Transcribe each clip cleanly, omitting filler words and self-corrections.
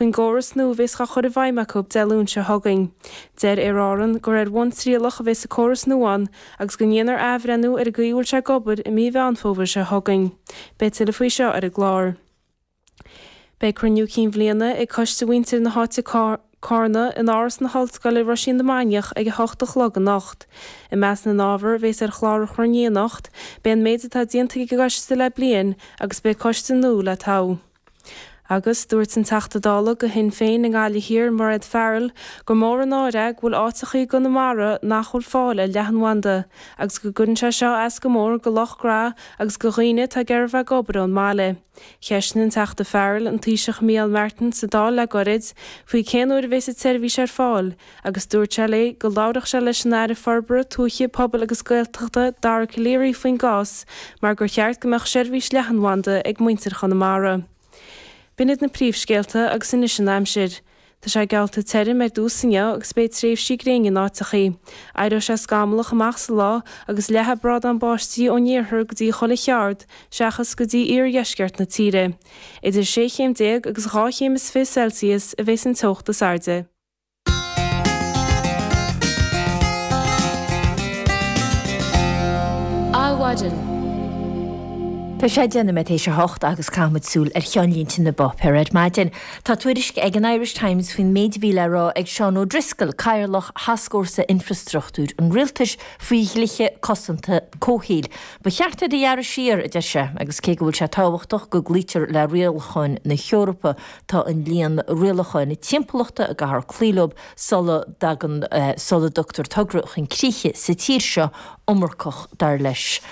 Faoin gcóras nua a bheas á chur i bhfeidhm acu Dé Luain seo chugainn. Deir Aer Árann gur ar bhonn trialach a bheas an córas nua ann agus go ndéanfar athbhreithniú ar an gcaoi a bhfuil sé ag obair i mí Mheán Fómhair seo chugainn. Beidh tuilleadh faoi seo ar an gclár. Beidh cruinniú cinn bhliana ag Coiste Mhuintir na hÁite Cárna in Áras na hOllscoile Roisín na Mainiach ag 8 a chlog anocht. I measc na n-ábhar a bheas ar chlár an chruinnithe anocht beidh an méid atá déanta ag an gcoiste le bliain agus beidh coiste nua le toghadh. Agus dúirt an Teachta Dála do Shinn Féin i nGaillimh Thiar, Mairéad Farrell, gur mór an náire é go bhfuil áiteachaí i gConamara nach bhfuil fáil ar leathanbhanda agus go gcuireann sé seo as go mór do lucht gnó agus do dhaoine atá ag iarraidh a bheith ag obair ón mbaile. Cheistigh an Teachta Farrell an Taoiseach Micheál Martin sa Dáil le goirid faoi cén uair a bheas an tseirbhís ar fáil agus dúirt sé léi go labharfadh sé leis an Aire Forbartha Tuaithe, Pobail agus Gaeltachta, Dara Calleary faoin gcás mar gur cheart go mbeadh seirbhís leathanbhanda ag muintir Chonamara. B'in iad na príomhscéalta agus anois an aimsir. Tá sé geallta tirim ar dtús inniu agus beidh tréimhsí gréine in áiteachaí. Éireoidh sé scamallach amach sa lá agus leathfaidh brádán báistí ón iarthar go dtí chuile cheard seachas go dtí iardheisceart na tíre. Idir sé chéim déag agus 12 chéim Celsius a bheas an teocht is airde. Adhmhaidin. Tá sé 10 nóiméad théis a hocht agus caithfimid súil ar cheannlínte na bpáipéar ar maidin. Tá tuairisc ag an Irish Times faoin méid a bhí le rá ag Seán O'Driscoll, Cathaoirleach Thascfhórsa Infreastruchtúir an Rialtais, faoi dhlíthe cosanta comhshaoil. Ba cheart iad a ghearradh siar, a deir sé, agus cé go bhfuil sé tábhachtach go gcloítear le rialacháin na hEorpa, Tá an líon rialacháin timpeallachta a gcaithfear cloí leo sula dtagann, sula dtugtar togra chun críche sa tír seo iomarcach, dar leis.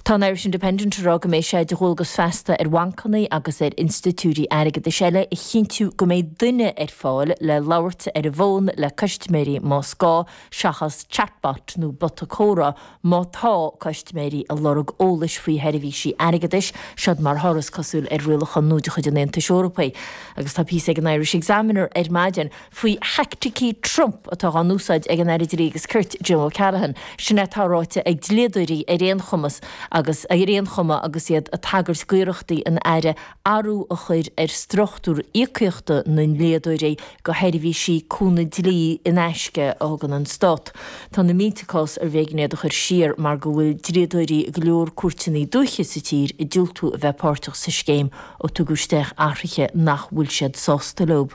Tá an Irish Independent ag rá go mbeidh sé de dhualgas feasta ar bhancanna agus ar institiúidí airgeadais eile a chinntiú go mbeidh duine ar fáil le labhairt ar an bhfón le custaiméirí más gá, seachas chatbot nó bota comhrá Má tá custaiméirí ag lorg eolais faoi sheirbhísí airgeadais, seod mar thoradh, is cosúil, ar rialachán nua de chuid an Aontais Eorpaigh. Agus tá píosa ag an Irish Examiner ar maidin faoi theaicticí Trump atá á n-úsáid ag an Aire Dlí agus Cirt, Jim O'Callaghan. Sin é atá ráite ag dlíodóirí ar aon chumas agus ar aon chuma agus iad ag tagairt d'iarrachtaí an Aire athrú a chur ar struchtúr íocaíochta na ndlíodóirí do sheirbhísí cúnamh dlí in aisce a thugann an Stát. Tá na mílte cás arbh éigean iad a chur siar mar go bhfuil dlíodóirí i go leor cúirteanna dúiche sa tír ag diúltú a bheith páirteach sa scéim ó tugadh isteach athruithe nach bhfuil siad sásta leo.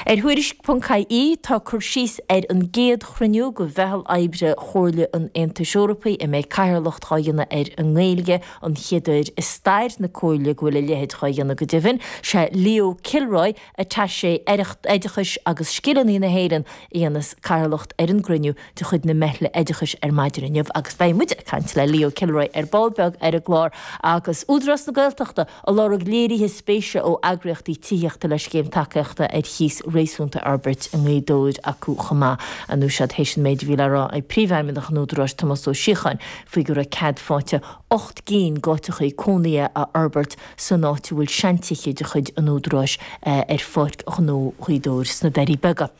Ar Thuairisc.ie tá cur síos ar an gcéad chruinniú de mheitheal oibre Chomhairle an Aontais Eorpaigh a mbeidh cathaoirleacht á dhéanamh ar an nGaeilge, an chéad uair i stair na Comhairle go bhfuil a leithéid dhá dhéanamh go deimhin. Sé Leo Kilroy, Attaché Oideachais agus Scileanna na hÉireann, a dhéanas cathaoirleacht ar an gcruinniú de chuid na Meithle Oideachais ar maidin inniu agus beidh muid ag caint le Leo Kilroy ar ball beag ar an gclár agus Údarás na Gaeltachta ag lorg léirithe spéise ó eagraíochtaí tithíochta le scéim tacaíochta ar chíos réasúnta a fhorbairt i nGaoth Dobhair acu chomh maith. An úsáid théis an méid a bhí le rá ag Príomhfheidhmeannach an Údaráis Tomás Ó Síocháin faoi go raibh cead faighte 8 gcinn d'áiteachaí cónaithe a fhorbairt san áit a bhfuil seantithe de chuid an Údaráis ar Pháirc Ghnó Ghaoth Dobhair sna Doirí Beaga.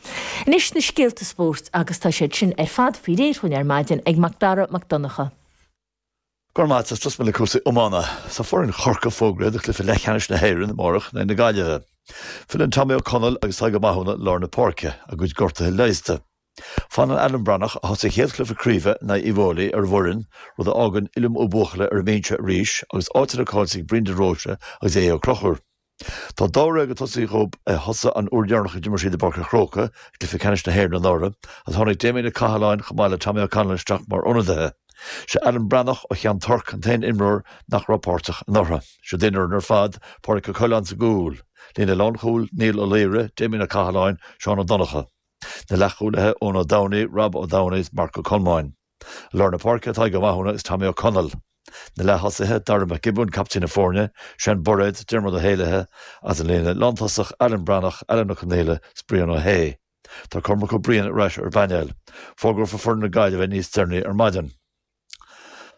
Anois na scéalta spóirt agus tá siad sin ar fad faoi réir dhúinn ar maidin ag Macdara Mac Donncha. Go raibh maith agat. Tosóidh mé le cúrsaí iomána. Tá foireann Chorcaí fógraithe do chluiche leathcheannais na hÉireann amárach in aghaidh na Gaillimhe. Filleann Tommy Ó Conaill agus Tadhg Ó Mathúna i lár na páirce, a gcuid gortuithe leigheasta. Fanann Alan Breathnach, a thosaigh a chéad chluiche craoibhe in aghaidh Uíbh Fhailí, ar an bhfoireann, rud a fhágann Uilliam Ó Buachalla ar an mbinse arís agus áiteanna caillte ag Brendan Roche agus Aodh Ó Conchúir. Tá dáréag ag tosaí dhób a thosaigh an uair dheireanach a d'imir siad i bPáirc an Chrócaigh i gcluiche ceannais na hÉireann anuraidh agus tháinig Damien Ó Cathaláin chomh maith le Tommy O'Connell isteach mar ionadaithe. Sé Alan Breathnach ó Cheann Toirc an t-aon imreoir nach raibh páirteach anuraidh. Siod é an fhoireann ar fad, Pádraic Ó Coileáin sa gcúl. Líne lánchúil, Niall Ó Laoire, Damien Ó Cathaláin, Seán Ó Donnchadha. Na leathchúlaithe, Eoin Ó Domhnaigh, Rob Ó Domhnaigh is Marc Ó Colmáin. I lár na páirce, Tadhg Ó Mathúna agus Tommy Ó Conaill. Na leath-thosaithe, Dara Mac Giobúin, captaen na foirne, Sean Bairéad, Diarmuid Ó hÉalaithe, agus an líne lántosach, Alan Breathnach, Alan Ó Conaola is Brian Ó hAodha. Tá Cormac Ó Briain ar ais ar an bpainéal. Fógrófar foireann na Gaillimhe níos deireanaí ar maidin.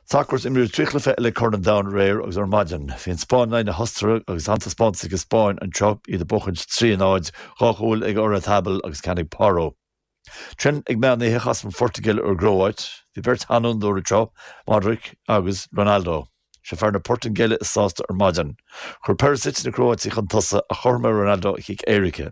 Sacar Imríodh 3 chluiche eile ag Corn an Domhain aréir agus ar maidin. Bhí an Spáinn in aghaidh na hOstaire agus an-taispeántas ag an Spáinn anseo, iad ag buachaint 3 0, 2 chúl ag Oyarzabal agus ceann ag Porro. Ansin ag meán oíche chas an Phortaingéil ar an gCróit. Bhí beirt sheanfhondúir anseo, Modric agus Ronaldo. Sé fear na Portaingéile is sásta ar maidin. Chuir Perisic na Cróátaigh chun tosaigh ach chothromaigh Ronaldo a chic éirice.